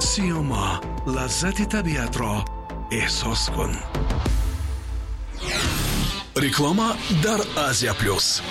Сиёма, лаззати табиатро эҳсос кун. Реклама дар Азия Плюс.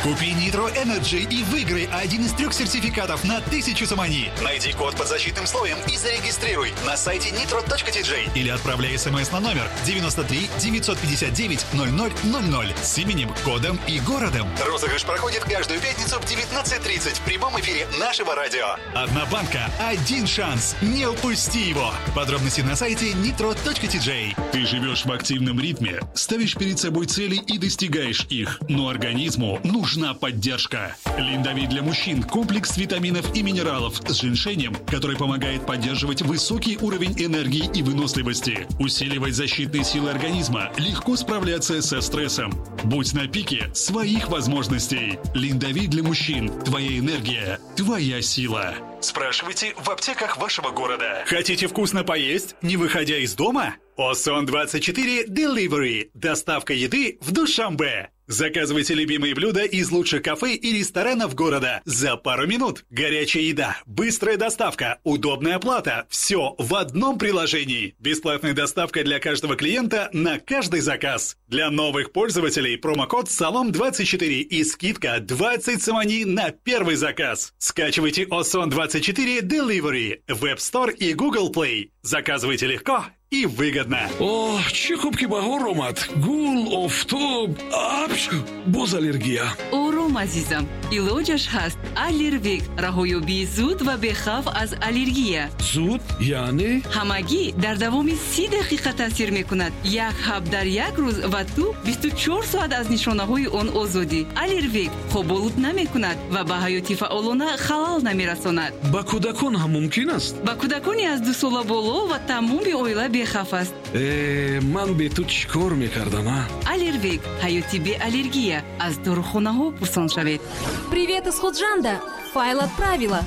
Купи Nitro Energy и выиграй один из 3 сертификатов на 1000 сомони. Найди код под защитным слоем и зарегистрируй на сайте nitro.tj или отправляй смс на номер 93 959 0000 с именем, кодом и городом. Розыгрыш проходит каждую пятницу в 19:30 в прямом эфире нашего радио. Одна банка, один шанс. Не упусти его. Подробности на сайте nitro.tj. Ты живешь в активном ритме, ставишь перед собой цели и достигаешь их, но организму нужна поддержка. Линдовит для мужчин – комплекс витаминов и минералов с женьшенем, который помогает поддерживать высокий уровень энергии и выносливости, усиливать защитные силы организма, легко справляться со стрессом. Будь на пике своих возможностей. Линдовит для мужчин – твоя энергия, твоя сила. Спрашивайте в аптеках вашего города. Хотите вкусно поесть, не выходя из дома? Осон24 Delivery. Доставка еды в Душанбе. Заказывайте любимые блюда из лучших кафе и ресторанов города за пару минут. Горячая еда, быстрая доставка, удобная оплата. Все в одном приложении. Бесплатная доставка для каждого клиента на каждый заказ. Для новых пользователей промокод САЛОМ24 и скидка 20 сомони на первый заказ. Скачивайте Осон24 Delivery в App Store и Google Play. Заказывайте легко и выгодно. Оҳ, чӣ хуб, ки баҳор омад. Гул, офтоб, апч, боз аллергия. Ором, азизам, илоҷаш ҳаст. Аллервик — раҳоёбии зуд ва бехавф аз аллергия. Зуд яъне? Ҳамагӣ дар давоми 30 дақиқа таъсир мекунад. Як ҳаб дар як рӯз, ва ту 24 соат аз нишонаҳои он озодӣ. Аллервик хоболуд намекунад ва ба ҳаёти фаъолона халал намерасонад. Ба кӯдакон ҳам мумкин аст? Ба кӯдакони аз 2 сола боло ва тамоми оила бехавф аст. Э, ман бе ту чӣ кор мекардам, а? Аллервик — ҳаёти беаллергия. Аз дорухонаҳо пурсон шавед. Привет из Худжанда! Файл отправила.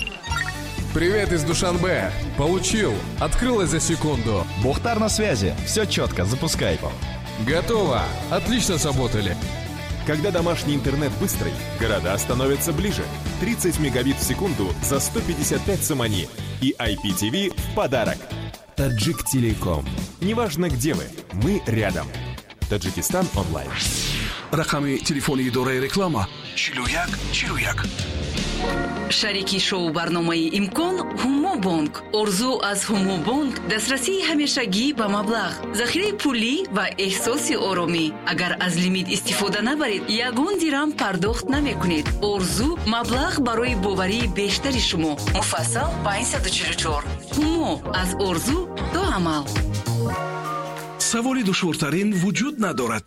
Привет из Душанбе. Получил. Открылось за секунду. Бухтар на связи. Все четко, запускай. Готово. Отлично сработали. Когда домашний интернет быстрый, города становятся ближе. 30 мегабит в секунду за 155 сомони. И IPTV в подарок. Таджик Телеком. Неважно, где вы, мы рядом. Таджикистан онлайн. Рақами телефони идораи реклама: 41 41. Шарики шоу барномаи «Имкон» Ҳумобонк. Орзу аз Ҳумобонк: дастрасии ҳамешагӣ ба маблағ, захираи пулӣ ва эҳсоси оромӣ. Агар аз лимит истифода набаред, ягон дирам пардохт намекунед. Орзу: маблағ барои боварии бештари шумо. Муфассал 544. Ҳумо: аз орзу то амал. Саволи душвортарин вуҷуд надорад,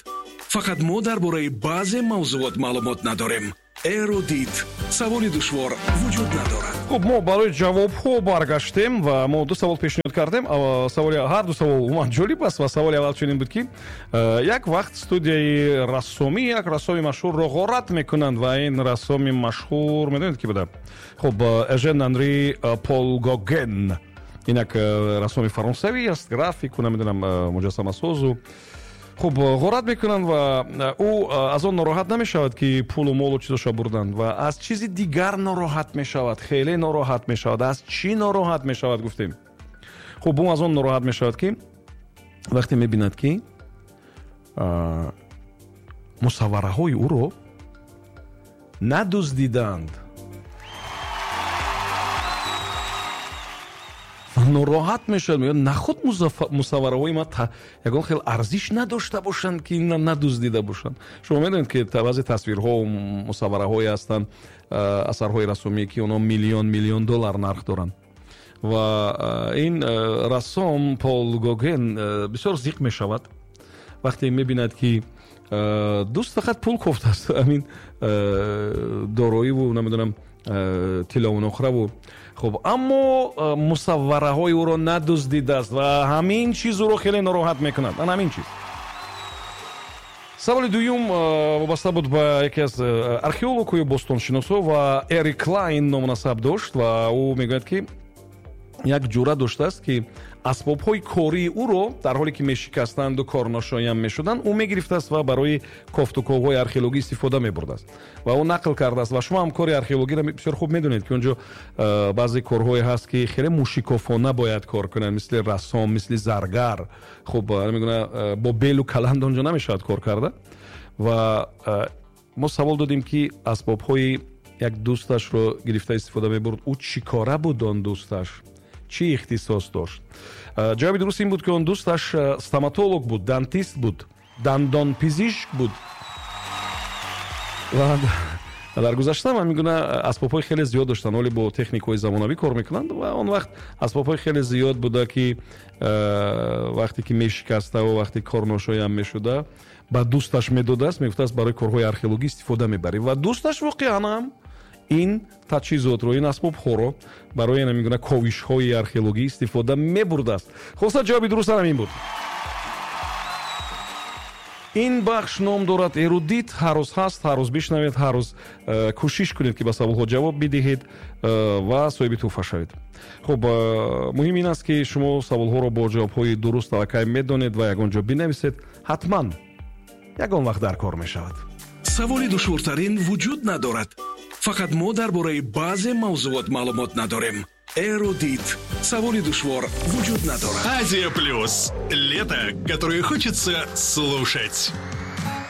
фақат мо дар бораи баъзе мавзуот маълумот надорем. Эрудит: саволи душвор вуҷуд надорад. Хуб, мо барои ҷавобҳо баргаштем ва мо ду савол пешниҳод кардем. Саволи ҳар ду савол умуман ҷолиб аст ва саволи аввал чунин буд, ки як вақт студияи рассомӣ як рассоми машҳурро ғорат мекунанд ва ин рассоми машҳур, медонед, ки буда? Хуб, Эжен Анри Пол Гоген, ин як рассоми фаронсавӣ аст, графику, намедонам, муҷассамасозу. Хуб, ғорат мекунанд ва ӯ аз он нороҳат намешавад, ки пулу молу чизоша бурданд, ва аз чизи дигар нороҳат мешавад, хеле нороҳат мешавад. Аз чӣ нороҳат мешавад, гуфтем. Хуб, ӯ аз он нороҳат мешавад, ки вақте мебинад, ки мусаввараҳои ӯро надуздиданд, нороҳат мешавад. Мегӯяд: нахуд мусаввараҳои ма ягон хел арзиш надошта бошанд, ки надуздида бошанд? Шумо медонед, ки баъзе тасвирҳо, мусаввараҳое ҳастанд, асарҳои рассомие, ки онҳо миллион миллион доллар нарх доранд. Ва ин рассом Пол Гоген бисёр зиқ мешавад, вақте мебинад, ки дӯст фақат пул кофтааст, ҳамин дороиву, намедонам, тиллову нуқраву. Хуб, аммо мусаввараҳои ӯро надуздидааст ва ҳамин чиз ӯро хеле нороҳат мекунад, ан ҳамин чиз. Саволи дуюм вобаста буд ба яке аз археологҳои бостоншиносҳо ва Эрик Клайн ному насаб дошт ва ӯ мегӯяд, ки як ҷура доштааст, ки Асбобҳои кории ӯро, дар ҳоле ки мешикастанду корношоям мешуданд, ӯ мегирифтааст ва барои кофтуковҳои археологӣ истифода мебурдааст. Ва ӯ нақл кардааст, ва шумо ҳам кори археологиро бисёр хуб медонед, ки он ҷо баъзе корҳое ҳаст, ки хеле мушикофона бояд кор кунанд, мисли рассом, мисли заргар. Хуб, мегӯна, бо белу каланд он ҷо намешавад кор карда. Ва мо савол додем, ки асбобҳои як дӯсташро гирифта истифода мебурд, ӯ чӣ кора буд, он дӯсташ чӣ ихтисос дошт? Ҷавоби дуруст ин буд, ки он дӯсташ стоматолог буд, дантист буд, дандонпизишк буд. Ва дар гузашта ҳамин гуна асбобҳои хеле зиёд доштанд. Ҳоле бо техникаҳои замонавӣ кор мекунанд, ва он вақт асбобҳои хеле зиёд буда, ки вақте ки мешикаставу вақте корношоям мешуда, ба дӯсташ медодааст, мегуфтааст, барои корҳои археологӣ истифода мебарӣ. Ва дӯсташ воқеан ҳам ин таҷҳизотро, ин асбобҳоро барои ҳамин гуна ковишҳои археологӣ истифода мебурдааст. Хулоса, ҷавоби дуруст ҳамин буд. Ин бахш ном дорад «Эрудит». Ҳар рӯз ҳаст, ҳар рӯз бишнавед, ҳар рӯз кӯшиш кунед, ки ба саволҳо ҷавоб бидиҳед ва соҳиби тӯҳфа шавед. Хуб, муҳим ин аст, ки шумо саволҳоро бо ҷавобҳои дуруст аллакай медонед ва ягон ҷо бинависед, ҳатман ягон вақт дар кор мешавад. Саволи душвортарин вуҷуд надорад, фақат мо дар бораи баъзе мавзуот маълумот надорем. Эрудит. Саволи душвор вуҷуд надорад. Азия Плюс. Лето, которое хочется слушать.